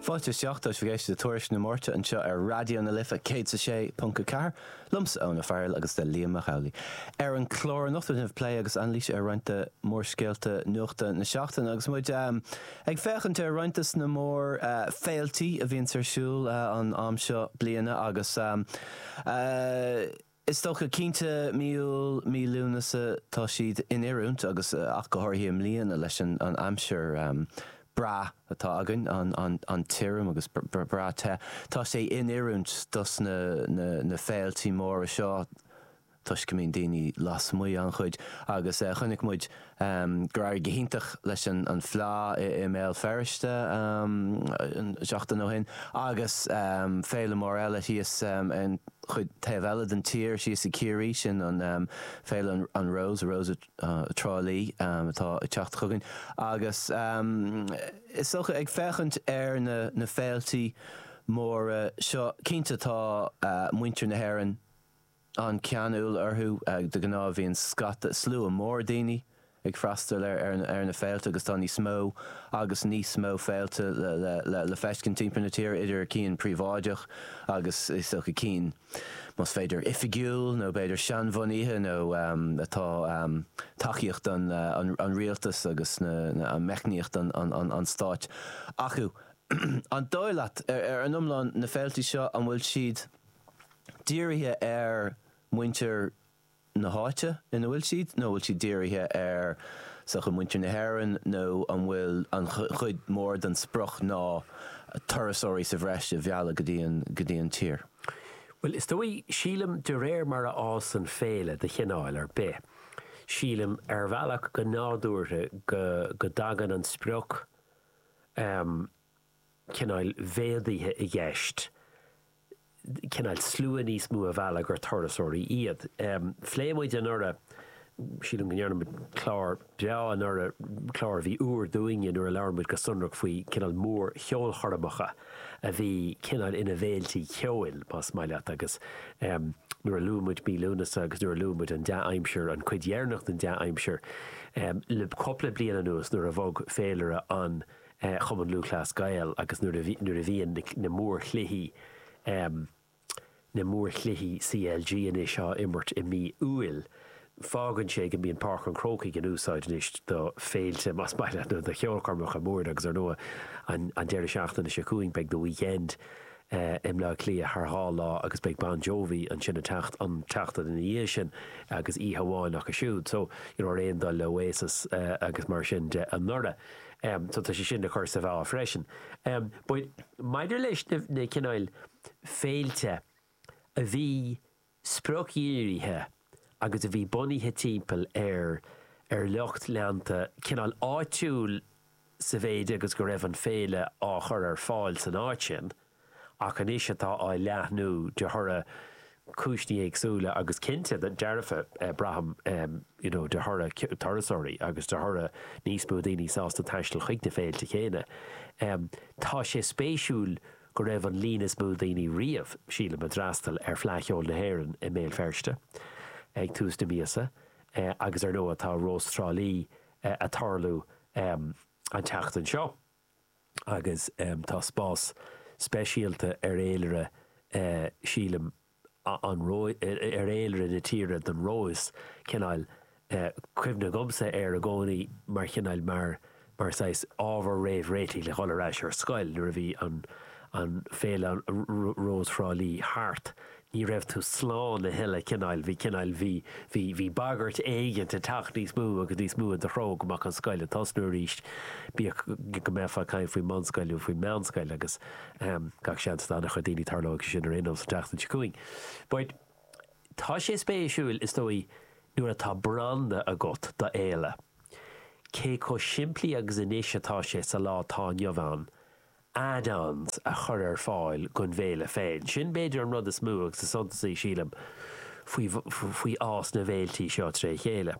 Fáilte isteach, tá sibh ag éisteacht le Tuairisc na Máirte anseo ar Raidió na Life 106.4, liomsa Eoin Ó Fearghail agus le Liam Mac Amhlaigh. Ar an chlár anocht déanfaimid plé agus anailís ar roinnt de mhórscéalta nuachta na seachtaine agus muid ag féachaint ar roinnt de na mór féiltí a bhíonns ar siúl an am seo bliana agus Is dócha, cinnte, mí Iúil, mí Lúnasa, tá siad in oiriúint agus ach go háirithe i mbliana leis an aimsir breá atá againn, an tirim agus breá te, tá sé in oiriúint dos na féiltí móra seo toisc go mbíonn daoine lasmuigh an-chuid agus chonaic muid gur éirigh go hiontach leis an Fleá i mBéal Feirste seachtain ó shin agus féile mór eile thíos an chuid taobh eile den tír, síos i Ciarraí, sin an féile an Rós, Rós Trá Lí atá ag teacht chugainn agus is dócha ag féachaint ar na féiltí móra seo, cinnte tá muintir na hÉireann, an-cheanúil orthu. De ghnáth bíonn scata, slua mór daoine ag freastal ar na féilte agus tá níos mó agus níos mó féilte le feiscint timpeall na tíre, idir cinn príobháideach agus is dócha cinn, más féidir, oifigiúil nó b'fhéidir seanbhunaithe nó atá tacaíocht an rialtais agus an meicníocht an stáit acu. An dóigh leat, ar an iomlán, na féilte seo, an bhfuil siad dírithe ar mhuintir na háite ina bhfuil siad nó an bhfuil siad dírithe ar sochaí muintir na hÉireann nó an bhfuil an chuid mhór den sprioc ná turasóirí sa bhreis a mhealladh go dtí an go dtí an tír? Bhuel, is dóigh, sílim, de réir mar a fhásann féile de chineál ar bith, sílim, ar bhealach go nádúrtha go go dtagann an sprioc cineáil mhéadaithe i gceist. cineál slua níos mó a mhealladh gur turasóirí iad. Phléigh muid anuraidh, sílim go ndearna muid clár breá anuraidh, clár a bhí úr dúinne nuair a labhair muid go sonrach faoi cineál mór-cheolchoirmeacha a bhí cineál ina bhféiltí ceoil, más maith leat, agus nuair a luaigh muid mí Lúnasa agus nuair a luaigh muid an dea-aimsir, an cuid dheireanach den dea-aimsir, le cúpla bliain anuas nuair a bhog féilire an Chumann Lúthchleas Gael agus nuair a nuair a bhíonn na mórchluichí na mórchluichí CLG anois á imirt i mí Iúil, fágann sé go mbíonn Páirc an Chrócaigh in úsáid anois do féilte, más maith leat, nó do cheolchoirmeacha móra agus ar ndóigh an an deireadh seachtaine seo chugainn beidh The Weekend i mBleá Cliath thar dhá lá agus beidh Bon Jovi ansin an tseacht an tseachtain ina dhiaidh sin agus oíche amháin acu siúd. So, you know, ar aon dul le Oasis agus mar sin de anuraidh. So tá sé sin le cur sa mheá freisin. But maidir leis na cineáil féilte a bhí spriocdhírithe agus a bhí bunaithe timpeall ar ar lucht leanta cineál áitiúil sa mhéid agus go raibh an féile á chur ar fáil san áit sin, ach anois atá á leathnú de thoradh cúiseanna éagsúla agus cinnte, dearfa, braithim, you know, de thoradh turasóirí agus de thoradh níos mó daoine sásta taisteal chuig na féilte céanna. Tá sé spéisiúil go raibh an líon is mó daoine riamh, sílim, a d'fhreastail ar Fleadh Cheoil na hÉireann i mBéal Feirste ag tús na míosa agus ar ndóigh tá Rós Trá Lí a' tarlú an tseachtain seo. agus tá spás speisialta ar fhéilire, sílim, an ar fhéilire na tíre don Rós, cineál cuimhne agamsa air i gcónaí mar chineál mar mar saghas ábhar réamhréitigh le dhul ar ais ar scoil nuair a bhí an an féile Rós Thrá Lí thart. Ní raibh tú slán a thuilleadh, cineál, bhí cineál, bhí, bhí, bhí bagairt éigint ag teacht níos mó agus níos mó i do threo go mbeadh an scoil ag tosnú arís, bíodh go mbeifeá ag caint faoin mbunscoil nó faoin meánscoil agus gach seans d'an-chuid daoine tarlóidh sé sin ar aon nós an tseachtain seo chugainn. But tá sé spéisiúil, is dóigh, nuair atá branda agat do fhéile, cé chomh simplí agus anois atá sé sa lá atá inniu ann, add-ons a chur ar fáil don bhféile féin. Sin b'fhéidir an rud is mó agus is suntasaí, sílim, faoi faoi fhás na bhféiltí seo tré chéile.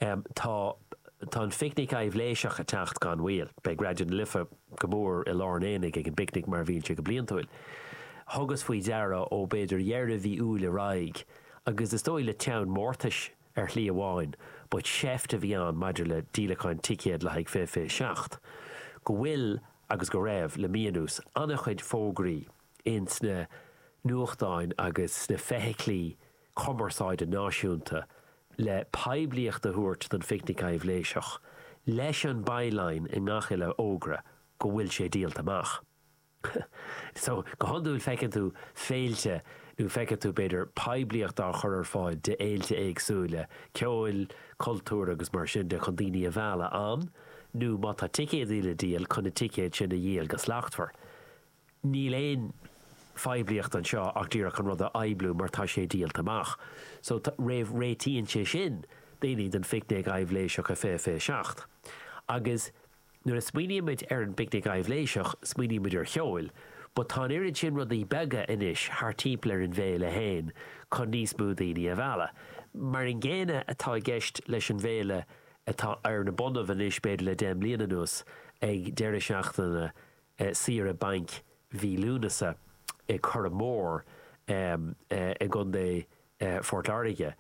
Tá tá an phicnic aibhléiseach ag teacht gan mhoill. Beidh Raidió na Life go mór i lár an aonaigh ag an bpicnic mar a bhíonn sé go bliantúil. Thugas faoi deara ó b'fhéidir dheireadh mhí Iúil ar aghaidh, agus is dóigh le teann mórtais, ar shlí amháin, but seift a bhí ann maidir le díolacháin ticéad le haghaidh 2027, go bhfuil. agus go raibh, le mí anuas, an-chuid fógraí ins na nuachtáin agus sna feithiclí cumarsáide náisiúnta le poiblíocht a thabhairt don Phicnic Aibhléiseach, leis an byline i ngach uile fhógra go bhfuil sé díolta amach. So, go hiondúil feiceann tú féilte nó feiceann tú, b'fhéidir, poiblíocht á chur ar fáil d'fhéilte éagsúla, ceoil, cultúir agus mar sin de chun daoine a mhealladh ann, nó má tá ticéadaí le díol, chun na ticéid sin a dhíol go slachtmhar. Níl aon phoiblíocht anseo ach díreach an rud a phoibliú mar tá sé díolta amach. So, réamh réitíonn sé sin daoine don Phicnic Aibhléiseach i 2027. Agus nuair a smaoinímid ar an bPicnic Aibhléiseach, smaoinímid ar cheol, but tá an oiread sin rudaí beaga anois thart timpeall ar an bhféile féin chun níos mó daoine a mhealladh. Mar an gcéanna atá i gceist leis an bhféile atá ar na bonnaibh anois b'fhéidir le 10 mbliana anuas ag deireadh seachtaine saoire bainc mhí Lúnasa i Curragh Mór i gContae Phort Láirge,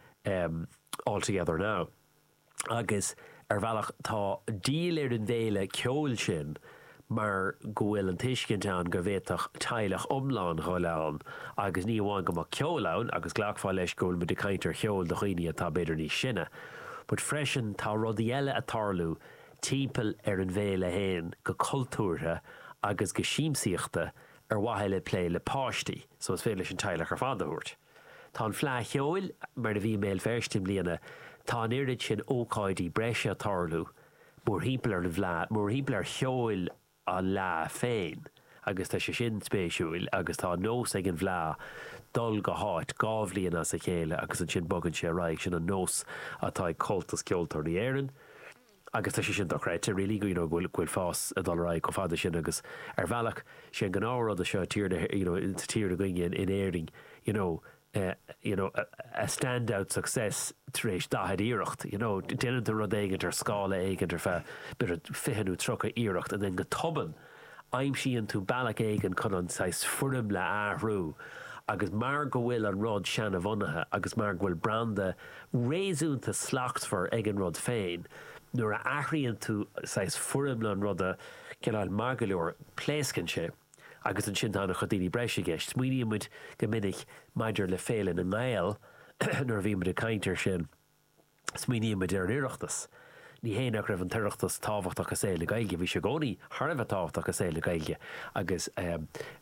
All Together Now. Agus ar bhealach tá díol ar an bhféile ceoil sin mar go bhfuil an tuiscint ann go bhféadfadh teaghlach iomlán dhul ann agus ní amháin go mbeadh ceol ann, agus glacfá leis go bhfuil muid ag caint ar cheol do dhaoine atá b'fhéidir níos sine, but freisin tá rudaí eile ag tarlú timpeall ar an bhféile féin go cultúrtha agus go siamsaíochta ar mhaithe le plé le páistí so is féidir leis an teaghlach ar fad a thabhairt. Tá an Fleadh Cheoil, mar a bhí i mBéal Feirste i mbliana, tá an oiread sin ócáidí breise ag tarlú mórthimpeall ar an bhFleadh, mórthimpeall ar cheol an Fhleadh féin agus tá sé sin spéisiúil agus tá nós ag an bhFleadh dul go háit 2 bhliain as a chéile agus ansin bogann sé ar aghaidh, sin an nós atá ag Comhaltas Ceoltóirí Éireann agus tá sé sin dochreidte really you know go bhfuil go bhfuil fás ag dul ar aghaidh chomh fada sin agus ar bhealach sé an gnáthrud é seo i tír na you know sa tír againne in Éirinn you know you know, a stand-out success tar éis 40 iarracht, you know, déanann tú rud éigint ar scála éigint ar feadh b'fhéidir 20 nó 30 iarracht and then go tobann aimsíonn tú bealach éigin chun an saghas foirmle a athrú agus mar go bhfuil an rud seanabhunaithe agus mar go bhfuil branda réasúnta slachtmhar ag an rud féin, nuair a athraíonn tú saghas foirmle an ruda cineál maith go leor, pléascann sé. Agus ansin tá an-chuid daoine breise i gceist. Smaoiníonn muid go minic maidir le Féile na nGael, nuair a bhíonn muid ag caint air sin, smaoiníonn muid ar an Oireachtas. Ní hé nach raibh an tOireachtas tábhachtach i saol na Gaeilge, bhí sé i gcónaí thar a bheith tábhachtach i saol na Gaeilge agus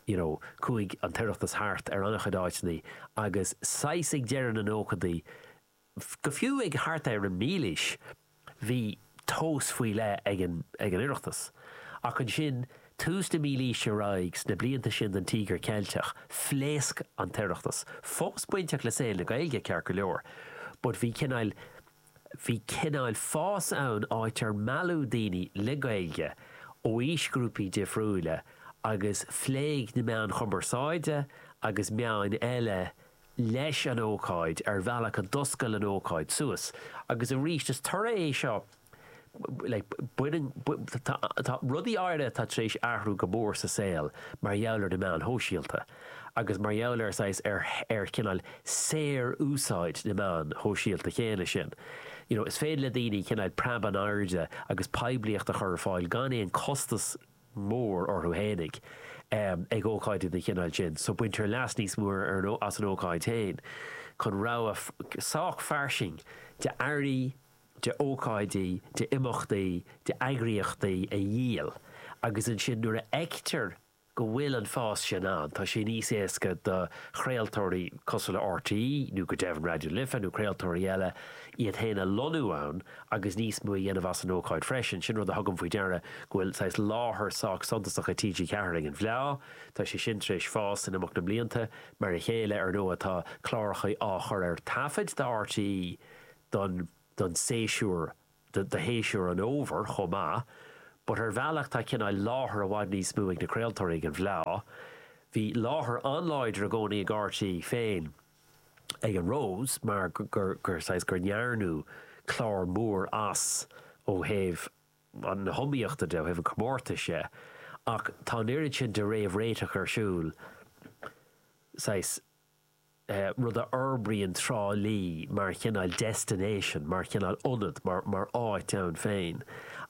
you know chuaigh an tOireachtas thart ar an-chuid áiteanna agus saghas ag deireadh na nóchaidí, Go fiú ag thart ar an mílaois bhí tomhas faoi leith ag an ag an Oireachtas. Ach ansin, tús na mílaoise ar aghaidh, sna blianta sin den Tíogar Ceilteach, phléasc an tOireachtas. Fós bainteach le saol na Gaeilge, ceart go leor, but bhí cineál bhí cineál fás ann áit ar mealladh daoine le Gaeilge ó aoisghrúpaí difriúla agus phléigh na meáin chumarsáide agus meáin eile leis an ócáid ar bhealach a d'oscail an ócáid suas. Agus arís, is toradh é seo, like, baineann, tá, tá rudaí áirithe atá tar éis athrú go mór sa saol mar gheall ar na meáin shóisialta agus mar gheall ar saghas, ar, ar chineál saor-úsáid na meán shóisialta chéanna sin. You know, is féidir le daoine cineál preab in airde agus poiblíocht a chur ar fáil gan aon costas mór orthu fhéinig ag ócáidí den chineál sin so baintear leas níos mó as an ócáid féin chun rogha sách fairsing de earraí, de ócáidí, de imeachtaí, de eagraíochtaí a dhíol agus ansin nuair a fheictear go bhfuil an fás sin ann tá sé níos éasca do chraoltóirí cosúil le RTÉ nó go deimhin Raidió na Life nó craoltóirí eile iad féin a lonnú ann agus níos mó a dhéanamh as an ócáid freisin. Sin rud a thugaim faoi deara, go bhfuil saghas láthair sách suntasach ag TG4 ag an bhFleá. Tá sé sin tar éis fás in imeacht na mblianta. Mar a chéile, ar ndóigh, tá cláracha á chur ar taifead do RTÉ don don séasúr, do shéasúr an fhómhair chomh maith. But ar bhealach tá cineál láthair i bhfad níos mó ag na craoltóirí ag an bhFleá. Bhí láthair an-láidir i gcónaí ag RTÉ féin. ag an Rose mar gur gur saghas gur ndearnadh clár mór as ó thaobh na hiomaíochta de, ó thaobh an chomórtais de, ach tá an oiread sin de réamhréiteach ar siúl, saghas, rud a fhorbraíonn Trá Lí mar chineál destination, mar chineál ionad, mar mar áit ann féin.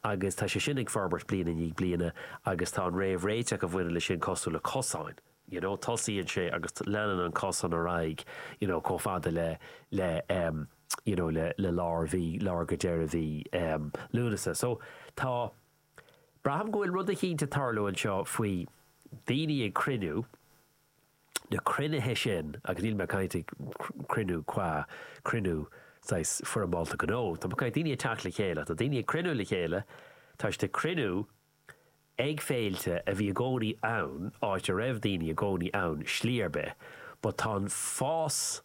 Agus tá sé sin ag forbairt bliain i ndiaidh bliana agus tá an réamhréiteach a bhaineann leis sin cosúil le cosáin, you know, tosaíonn sé agus leanann an cosán ar aghaidh, you know, chomh fada le, le em, you know, le, le lár mhí, lár go deireadh mhí em, Lúnasa. So tá, braithim go bhfuil rud eicínt ag tarlú anseo faoi daoine ag cruinniú, na cruinnithe sin, agus níl mé ag caint ag cruinniú qua cruinniú saghas foirmeálta gnó, tá mé ag caint daoine ag teacht le chéile, tá daoine ag cruinniú le chéile, tá siad ag cruinniú ag féilte a bhí i gcónaí ann, áit a raibh daoine i gcónaí ann slí ar bith, but tá an fás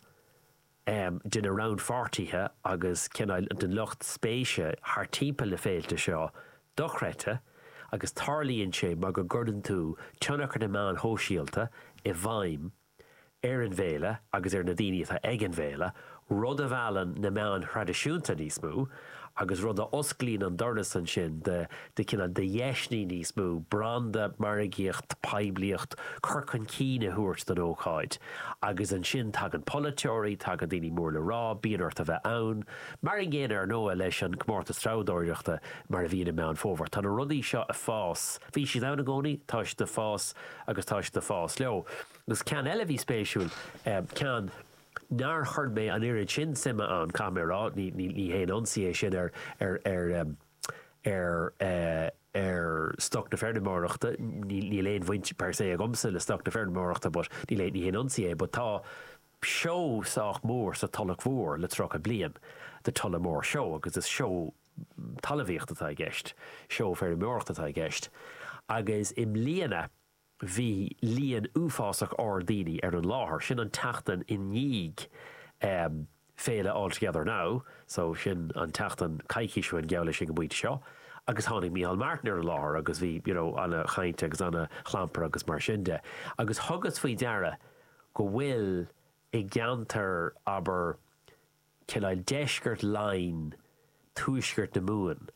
de na rannpháirtithe agus cineál den lucht spéise thar timpeall na féilte seo dochreidte agus tarlaíonn sé mar go gcuireann tú tionchar na meáin shóisialta i bhfeidhm ar an bhféile agus ar na daoine atá ag an bhféile, rud a mheallann na meáin thraidisiúnta níos mó agus rud a osclaíonn an doras ansin do de chineál de dheiseanna níos mó branda, margaíocht, poiblíocht, cur chun cinn a thabhairt don ócáid. Agus ansin tagann polaiteoirí, tagann daoine mór le rá, bíonn ort a bheith ann. Mar an gcéanna ar ndóigh leis an gcomórtas treabhdóireachta mar a bhíonn i Meán Fómhair. Tá na rudaí seo ag fás, bhí siad ann i gcónaí, tá siad ag fás agus tá siad ag fás leo. Agus ceann eile a bhí spéisiúil, ceann nár chuir mé an oiread sin suime ann, caithfidh mé a rá, ní haon ionsaí é sin ar, ar, ar, ar ar stoc na feirmeoireachta, níl aon bhaint per se agamsa le stoc na feirmeoireachta but níl aon, ní haon ionsaí é but tá seó sách mór sa Tulach Mhór le 30 bliain, The Tullamore Show agus is seó talmhaíochta atá i gceist, seó feirmeoireachta atá i gceist agus i mbliana, bhí líon uafásach ard daoine ar an láthair. Sin an tseachtain i ndiaidh féile All Together Now, so sin an tseachtain, coicís ó shin geall leis ag an bpointe seo, agus tháinig Micheál Martin ar an láthair agus bhí you know ana-chaint agus ana-chlampar agus mar sin de. Agus thugas faoi deara go bhfuil i gceantar, abair, cineál deisceart Laighean, tuaisceart na Mumhan.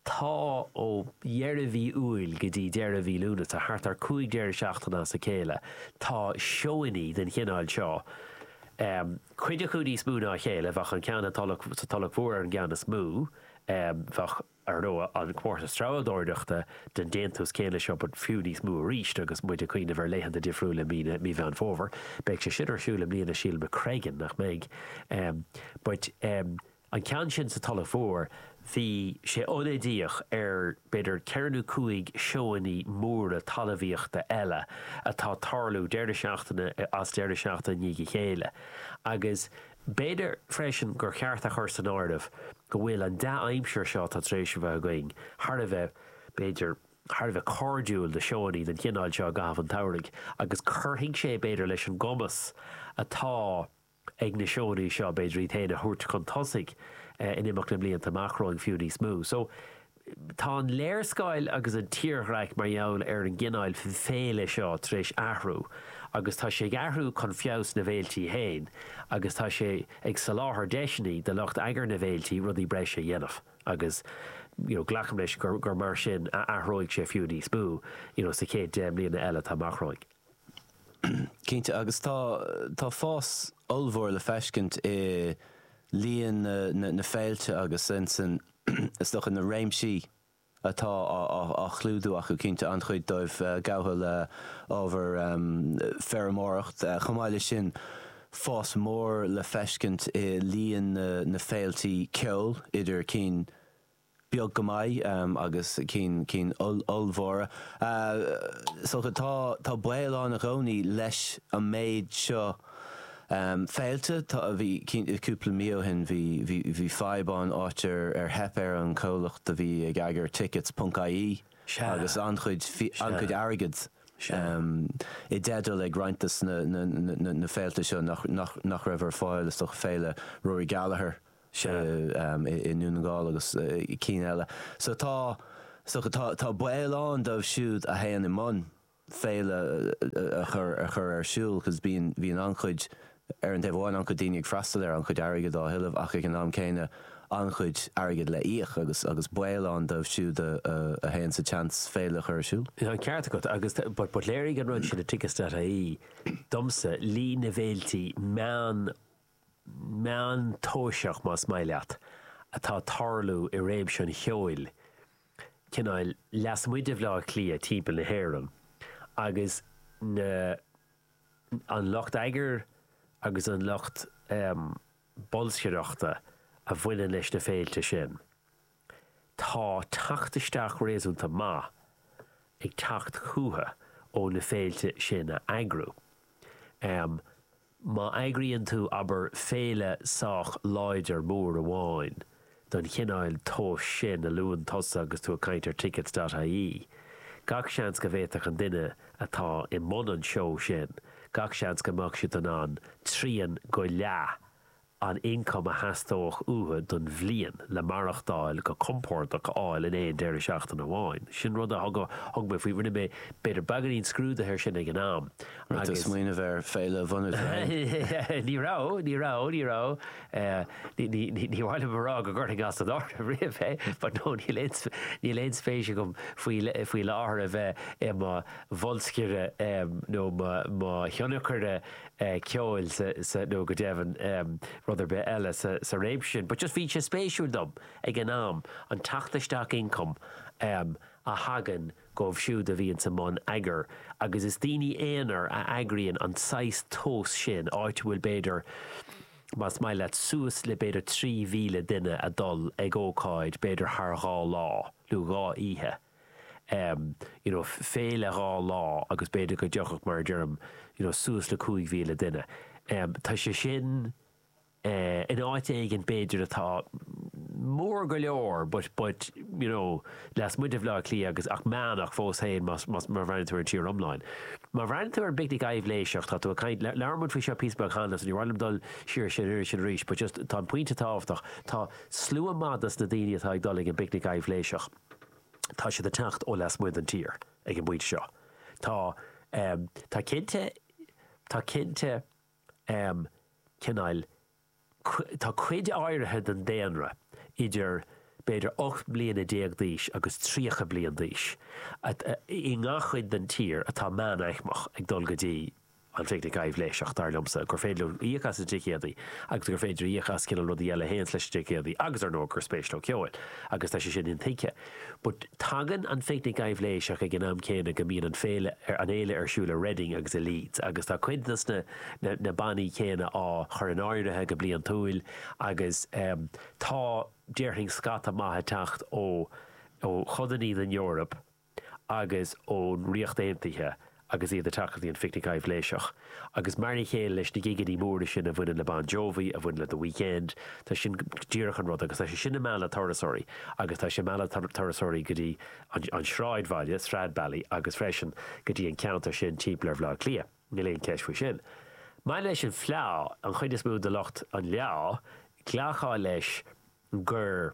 Tá ó dheireadh mhí Iúil go dtí deireadh mhí Lúnasa, thart ar 5 deireadh seachtaine as a chéile, tá seóannaí den chineál seo, cuid acu níos mó ná a chéile, bheadh an ceann sa Tulach Mhór ar an gceann is mó, bheadh. ar ndóigh, an comórtas treabhdóireachta den déantús céanna seo but fiú níos mó arís agus muid ag cuimhneamh ar laethanta difriúla i mí na, mí Mheán Fómhair. Beidh sé sin ar siúl i mbliana sílim i Creggan, nach mbeidh? But an ceann sin sa Tulach Mhór, bhí sé ionadaíoch ar b'fhéidir ceithre nó cúig seóannaí móra talmhaíochta eile atá ag tarlú deireadh seachtaine as deireadh seachtaine i ndiaidh a chéile agus B'fhéidir freisin gur cheart a chur san áireamh go bhfuil an dea-aimsir seo atá tar éis a bheith againn thar a bheith, b'fhéidir, thar a bheith cairdiúil do seóannaí den chineál seo i gcaitheamh an tsamhraidh agus cuirfidh sé, b'fhéidir, leis an gcumas atá ag na seóannaí seo, b'fhéidir, iad féin a thabhairt chun tosaigh in imeacht na mblianta amach romhainn fiú níos mó. So, Tá an léarscáil agus an tírdhreach mar gheall ar an gcineál féile seo tar éis athrú agus tá sé ag athrú chun feabhas na bhféiltí féin agus tá sé ag soláthar deiseanna do lucht eagair na bhféiltí rudaí breise a dhéanamh agus you know glacaim leis gur gur mar sin a athróidh sé fiú níos mó you know sa chéad 10 mbliana eile atá amach romhainn. Cinnte, agus tá tá fás ollmhór le feiscint i líon na na féilte agus insan is dócha, na réimsí atá á chlúdú acu, cinnte, an-chuid dóibh gafa le ábhar feirmeoireacht. Chomh maith leis sin, fás mór le feiscint i líon na féiltí ceoil, idir cinn beag go maith agus cinn cinn ollmhóra. Is dócha, tá tá baol ann i gcónaí leis an méid seo féilte. Tá, bhí, cúpla mí ó shin bhí, bhí, bhí fadhb ann áit ar, ar theip ar an chomhlacht a bhí ag eagar tickets ponc ie agus an-chuid, an-chuid airgid i dteideal ag roinnt des na, na, na, na féilte seo nach, nach, nach raibh ar fáil, is dócha féile Rory Gallagher i nDún na nGall agus cinn eile. So tá, is dócha, tá, tá baol ann dóibh siúd a théann i mbun. féile a chur a chur ar siúl cos bíonn bíonn an-chuid ar an taobh amháin an-chuid daoine ag freastal air, an-chuid airgid á thuilleamh ach ag an am céanna an-chuid airgid le íoc agus agus baol ann dóibh siúd a a théann sa tseans féile a chur ar siúl. Tá an ceart agat agus but but léirigh an rud sin i tickets.ie domsa líon na bhféiltí meán meántomhaiseach más maith leat atá ag tarlú i réimse an cheoil. cineáil lasmuigh de Bhleá Cliath timpeall na hÉireann agus na an lucht eagair agus an lucht bolscaireachta a bhaineann leis na féilte sin, tá teacht isteach réasúnta maith ag teacht chucu ó na féilte sin a eagrú. Má eagraíonn tú, abair, féile sách láidir mór amháin don chineál tomhais sin a luann tusa agus tú ag caint ar tickets dot ie, gach seans go bhféadfadh an duine atá i mbun an seó sin, gach seans go mbeadh siad in ann trian go leath an ioncam a theastódh uathu don bhliain le maireachtáil go compordach a fháil in aon deireadh seachtaine amháin. Sin rud a thug mé faoi, rinne mé b'fhéidir beagáinín scrúdaithe air sin ag an am Raibh tú ag smaoineamh ar féile a bhunú tú féin? Ní raibh, ní raibh, ní raibh. Ní mhaith liom a rá go gcuirfinn as an áireamh riamh é, but no, níl aon, níl aon spéis agam faoi, faoi láthair a bheith i mo bholscaire nó mo thionchaire ceoil sa, nó go deimhin rud ar bith eile sa réimse sin. But just bhí sé spéisiúil dom ag an am, an teacht isteach ioncaim a thagann dóibh siúd a bhíonns i mbun eagair agus is daoine aonair a eagraíonn an saghas tomhas sin, áit a bhfuil b'fhéidir, más maith leat, suas le b'fhéidir 3,000 duine a dul ag ócáid b'fhéidir thar dhá lá nó dhá oíche. you know féile dhá lá agus b'fhéidir go dtiocfadh mar a deirim you know suas le 5,000 duine. Tá sé sin in áit éigin b'fhéidir atá mór go leor but but you know lasmuigh de Bhaile Átha Cliath agus ach meánach fós féin más más má bhreathnaíonn tú ar an tír iomlán. Má bhreathnaíonn tú ar an bPicnic Aibhléiseach tá tú ag caint labhair muid faoi seo píosa beag cheana so ní mhaith liom dul siar sin ar sin arís but just tá an pointe tábhachtach tá slua maith dos na daoine atá ag dul ag an bPicnic Aibhléiseach. tá siad ag teacht ó lasmuigh den tír ag an bpointe seo. Tá, tá cinnte, tá cinnte cineál, tá cuid áirithe den daonra idir b'fhéidir 18 mbliana d'aois agus 30 bliain d'aois i ngach cuid den tír atá meánaicmeach ag dul go dtí an Phicnic Aibhléiseach, dar liomsa, gur féidir leo íoc as na ticéadaí agus gur féidir íoc as cineál rudaí eile a théanns leis na ticéadaí agus, ar ndóigh, gur spéis leo ceoil agus tá sé sin intuigthe. But tagann an Phicnic Aibhléiseach ag an am céanna go mbíonn an féile, an fhéile ar siúl i Reading agus i Leeds agus tá cuid dos na, na, na bannaí céanna á chur in áirithe go bliantúil agus tá, déarfainn, scata maith ag teacht ó, ó chodannaí den Eoraip agus ón Ríocht Aontaithe agus iad ag teacht go dtí an Phicnic Aibhléiseach. Agus mar a chéile leis na gigeannaí móra sin a bhaineann le Bon Jovi, a bhaineann le The Weeknd, tá sin díreach an rud agus tá sé sin ag mealladh turasóirí agus tá sé ag mealladh turasóirí go dtí an sráidbhaile, Stradbally, agus freisin go dtí an ceantar sin timpeall ar Bhaile Átha Cliath. Níl aon cheist faoi sin. Maidir leis an Fleá, an chuid is mó de lucht an Fhleá, glactha leis gur.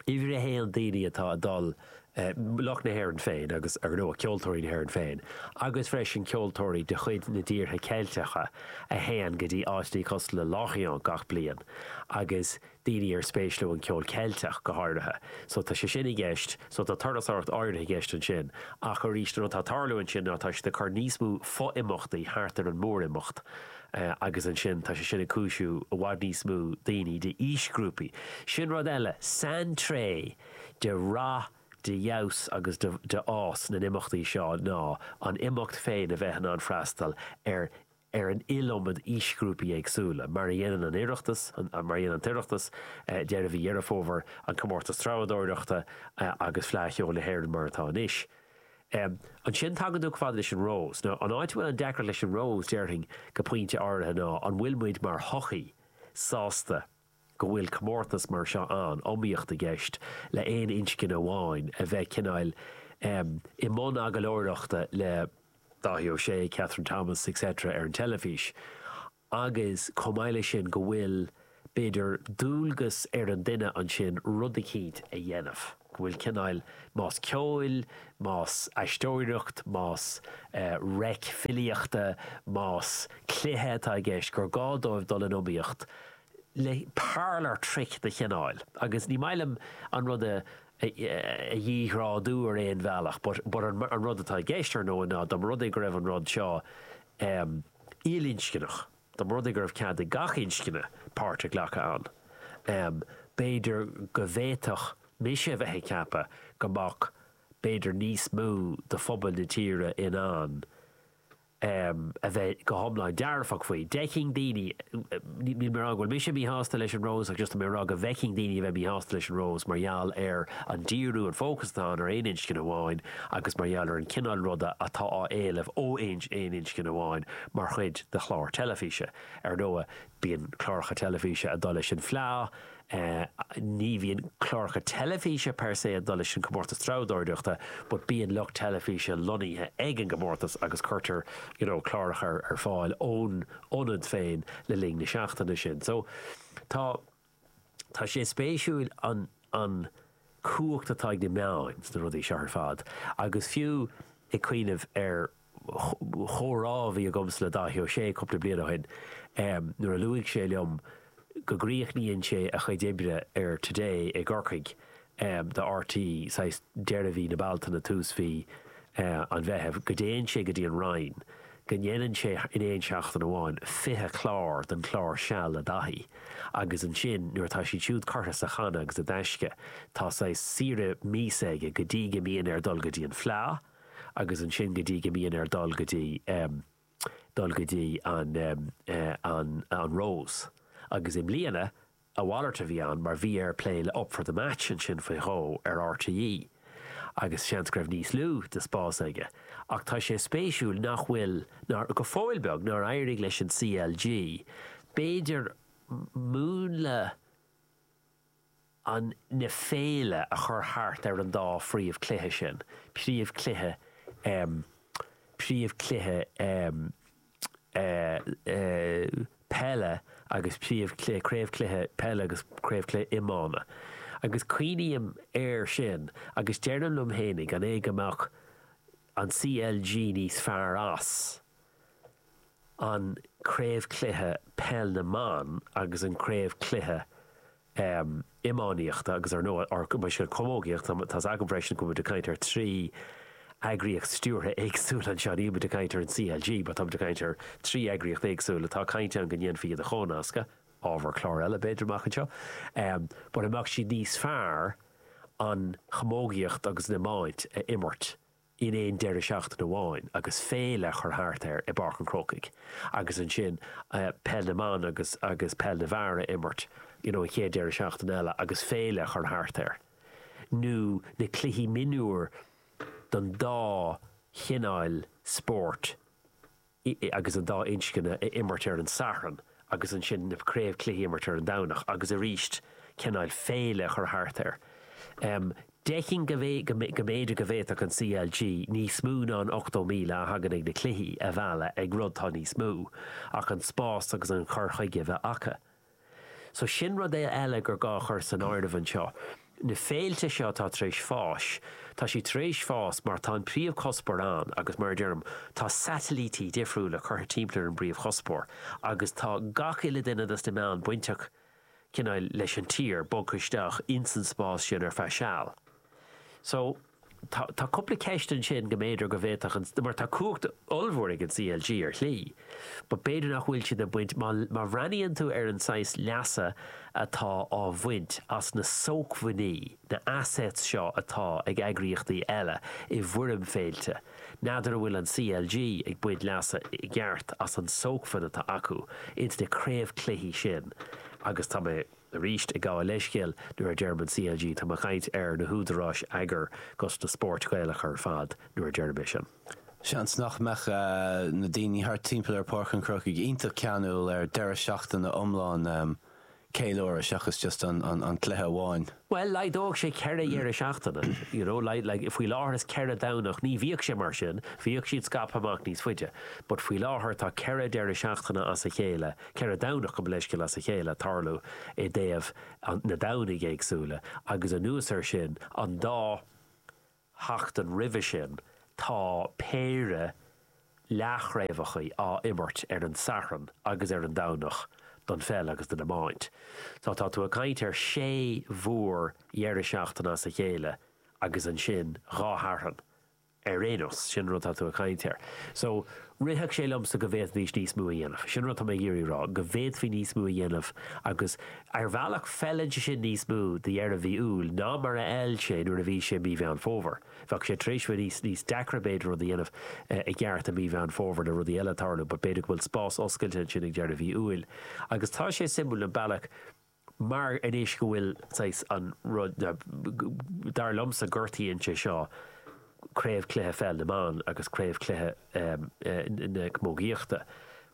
Uimhir a haon daoine atá ag dul, lucht na hÉireann féin agus, ar ndóigh, ceoltóirí na hÉireann féin agus freisin ceoltóirí de chuid na dtíortha Ceilteacha a théann go dtí áiteanna cosúil le Lorient gach bliain agus daoine ar spéis leo an ceol Ceilteach go háirithe. So tá sé sin i gceist, so tá turasóireacht áirithe i gceist ansin ach arís an rud atá ag tarlú ansin ná tá siad ag cur níos mó fo-imeachtaí thart ar an mórimeacht. agus ansin tá sé sin ag cúisiú i bhfad níos mó daoine d'aoisghrúpaí. Sin rud eile, saintréith de rath, de fheabhas agus de fhás na n-imeachtaí seo ná an imeacht féin a bheith in ann freastal ar ar an iliomad aoisghrúpaí éagsúla, mar a dhéanann an Oireachtas, mar a dhéanann an tOireachtas, deireadh mhí Dheireadh Fómhair, an Comórtas Treabhdóireachta agus Fleadh Cheoil na hÉireann mar atá anois. Ansin tagann tú chomh fada leis an Rose. Now, an áit a bhfuil an deacracht leis an Rose, déarfainn, go pointe áirithe ná an bhfuil muid mar shochaí sásta go bhfuil comórtas mar seo ann, iomaíocht i gceist le aon inscne amháin a bheith cineáil i mbun agallóireachta le Dáithí Ó Sé, Kathryn Thomas etc. ar an teilifís. agus chomh maith leis sin go bhfuil, b'fhéidir, dualgas ar an duine ansin rud eicínt a dhéanamh, go bhfuil cineál, más ceoil, más aisteoireacht, más reic filíochta, más cluiche atá i gceist, gur gá dóibh dul in iomaíocht le parlour trick de chineál. Agus ní maith liom an rud a a dhíghrádú ar aon bhealach but but an rud atá i gceist, ar ndóigh, ná dá mba rud é go raibh an rud seo ilinscneach, dá mba rud é go raibh cead ag gach inscne páirt a ghlacadh ann, b'fhéidir go bhféadfadh mise a bheith ag ceapadh go mbeadh b'fhéidir níos mó de phobal na tíre in ann a bheith go hiomlán dearfach faoi. D'fheicfinn daoine, níl mé ag rá go bhfuil mise míshásta leis an Rose ach just tá mé ag rá go bhfeicfinn daoine a bheith míshásta leis an Rose mar gheall ar an díriú, an fócas atá ann ar aon inscne amháin agus mar gheall ar an cineál ruda atá á éileamh ó aon inscne amháin mar chuid de chlár teilifíse. Ar ndóigh, bíonn cláracha teilifíse ag dul leis an Fleá, Ní bhíonn cláracha teilifíse per se ag dul leis an comórtas treabhdóireachta but bíonn lucht teilifíse lonnaithe ag an gcomórtas agus cuirtear you know cláracha ar fáil ón ionad féin le linn na seachtaine sin. So tá tá sé spéisiúil an an cumhacht atá ag na meáin sna rudaí seo ar fad agus fiú ag cuimhneamh ar chomhrá a bhí agamsa le Dáithí Ó Sé cúpla bliain ó shin nuair a luaigh sé liom go gcríochnaíonn sé a chuid oibre ar Today i gCorcaigh do RTÉ saghas deireadh mhí na Bealtaine, tús mhí an Mheithimh, go dtéann sé go dtí an Rinn, go ndéanann sé in aon seachtain amháin 20 clár den chlár Seal le Daithí agus ansin nuair atá siad siúd curtha sa channa agus i dtaisce tá saghas saoire míosa aige go dtí go mbíonn air dul go dtí an Fleá. agus ansin go dtí go mbíonn air dul go dtí dul go dtí an an an Rose. Agus i mbliana, a mhalairt a bhí ann mar bhí air plé le Up for the Match ansin faoi dhó ar RTÉ agus seans go raibh níos lú de spás aige. Ach tá sé spéisiúil nach bhfuil, nár, go fóill beag, nár éirigh leis an CLG, b'fhéidir, múnla, an na féile a chur thart ar an dá phríomhchluiche sin, príomhchluiche príomhchluiche peile agus príomhchluiche, craobhchluiche peile agus craobhchluiche iomána. Agus cuimhním air sin agus deirim liom fhéinig, an é go mbeadh an CLG níos fearr as? an craobhchluiche peil na mban agus an craobhchluiche iománaíochta agus ar ndóigh or mar sin camógaíocht tá's agam freisin go bhfuil muid ag caint ar thrí eagraíocht stiúrtha éagsúla anseo níl muid ag caint ar an CLG but tá muid ag caint ar thrí eagraíocht éagsúla atá caint ann go ndéanfaí iad a chónascadh, ábhar clár eile b'fhéidir amach anseo, but an mbeadh siad níos fearr an chamógaíocht agus an iomáint a imirt in aon deireadh seachtaine amháin agus féile a chur thart air i bPáirc an Chrócaigh agus ansin peil na mban agus agus peil na bhfear a imirt you know an chéad deireadh seachtaine eile agus féile a chur thart air nó na cluichí mionúir don dá chineál spóirt agus an dá inscne a imirt ar an Satharn agus ansin na craobhchluichí a imirt ar an Domhnach agus arís cineál féile a chur thart air. D'fheicfinn go mb'fhéidir go bhféadfadh an CLG níos mó ná an 80,000 a thagann ag na cluichí a mhealladh ag rud atá níos mó ach an spás agus an cur chuige a bheith acu. So sin rud eile gur gá a chur san áireamh anseo. Na féilte seo atá tar éis fáis, tá siad tar éis fás mar tá an príomhchuspóir ann agus mar a deirim, tá satailítí difriúla curtha timpeall ar an bpríomhchuspóir agus tá gach uile duine dos na meáin bainteach cineál leis an tír bogtha isteach ins an spás sin ar feadh seal. So. Tá tá cúpla ceist ansin go mb'fhéidir go bhféadfadh an, mar tá cumhacht ollmhór ag an CLG ar shlí, but b'fhéidir nach bhfuil siad ag baint, má má bhreathnaíonn tú ar an saghas leasa atá á bhaint as na sócmhainní, na assets seo atá ag eagraíochtaí eile i bhfoirm féilte, n'fheadar an bhfuil an CLG ag baint leasa i gceart as an sócmhainn atá acu ins na craobhchluichí sin agus tá mé. Arís, ag gabháil leithscéal, nuair a deirim an CLG, tá mé ag caint ar na húdaráis eagair dos na spóirt Ghaelacha ar fad nuair a deirim é sin. Seans nach mbeadh na daoine thart timpeall ar Páirc an Chrócaigh iontach ceanúil ar deireadh seachtaine iomlán ceiliúradh seachas just an cluiche amháin. Bhuel, laghdódh sé ceithre dheireadh seachtaine, you know, like, like, faoi láthair is ceithre Domhnach, ní bhíodh sé mar sin, bhíodh siad scaipthe amach níos faide, but faoi láthair tá ceithre deireadh seachtaine as a chéile, ceithre Domhnach, gabh mo leithscéal, as a chéile ag tarlú i dtaobh na Domhnaigh éagsúla agus anuas air sin, an dá sheachtain roimhe sin tá péire leathchraobhacha á imirt ar an Satharn agus ar an Domhnach don pheil agus don iomáint. So tá tú ag caint ar sé mhór dheireadh seachtaine as a chéile agus ansin dhá Shatharn. Ar aon nós, sin an rud atá tú ag caint air. So, rithfeadh sé liomsa go bhféadfaidís níos mó a dhéanamh. Sin an rud atá mé ag iarraidh a rá, go bhféadfaí níos mó a dhéanamh agus ar bhealach feileann sé sin níos mó do dheireadh mhí Iúil ná mar a fheil sé nuair a bhí sé mí Mheán Fómhair. Bheadh sé tar éis bheith níos, níos deacra b'fhéidir rud a dhéanamh i gceart i mí Mheán Fómhair le rudaí eile ag tarlú but b'fhéidir go bhfuil spás oscailte ansin ag deireadh mhí Iúil. Agus tá sé suimiúil an bealach mar anois go bhfuil saghas an rud, dar liomsa gortaíonn sé seo craobh cluiche pheil na mban agus craobh cluiche na camógaíochta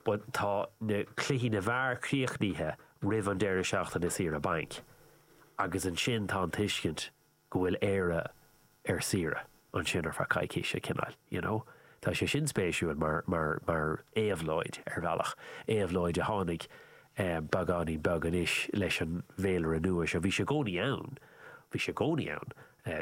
but tá na cluichí na bhfear críochnaithe roimh an deireadh seachtaine saoire bainc agus ansin tá an tuiscint go bhfuil Éire ar saoire ansin ar feadh coicíse, cineál, you know. Tá sé sin spéisiúil mar, mar, mar éabhlóid ar bhealach, éabhlóid a tháinig beagáinín beag anois leis an bhféilire nua seo. Bhí sé i gcónaí ann, bhí sé i gcónaí ann,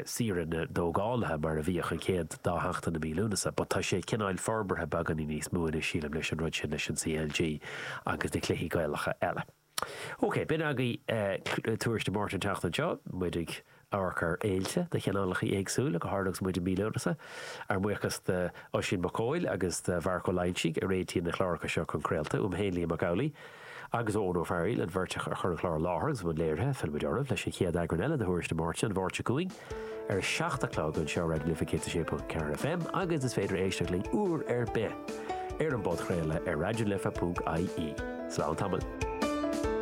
saoire na dtógálaithe mar a bhíodh an chéad dá sheachtain de mhí Lúnasa, but tá sé cineál forbartha beagáinín níos mó anois, sílim, leis an rud sin, leis an CLG agus na cluichí Gaelacha eile. Ok, b'in agaibh Tuairisc na Máirte an tseachtain seo, muid ag amharc ar fhéilte de chineálacha éagsúla, go háirithe agus muid i mí Lúnasa. Ár mbuíochas d'Oisín Mac Cóil agus do Mharc Ó Loingsigh a réitíonn na cláracha seo chun craolta, uaim féin Liam Mac Amhlaigh agus ó Eoin Ó Fearghaíl, an bheirt a chuir an clár i láthair agus i mbun léirithe. Fillfimid oraibh leis an chéad eagrán eile de Thuairisc na Máirte an Mháirt seo chugainn ar a 7 a chlog anseo ar Raidió na Life 106.4 FM agus is féidir éisteacht linn uair ar bith ar an bpodchraoladh ar raidionalife.ie. Slán tamall.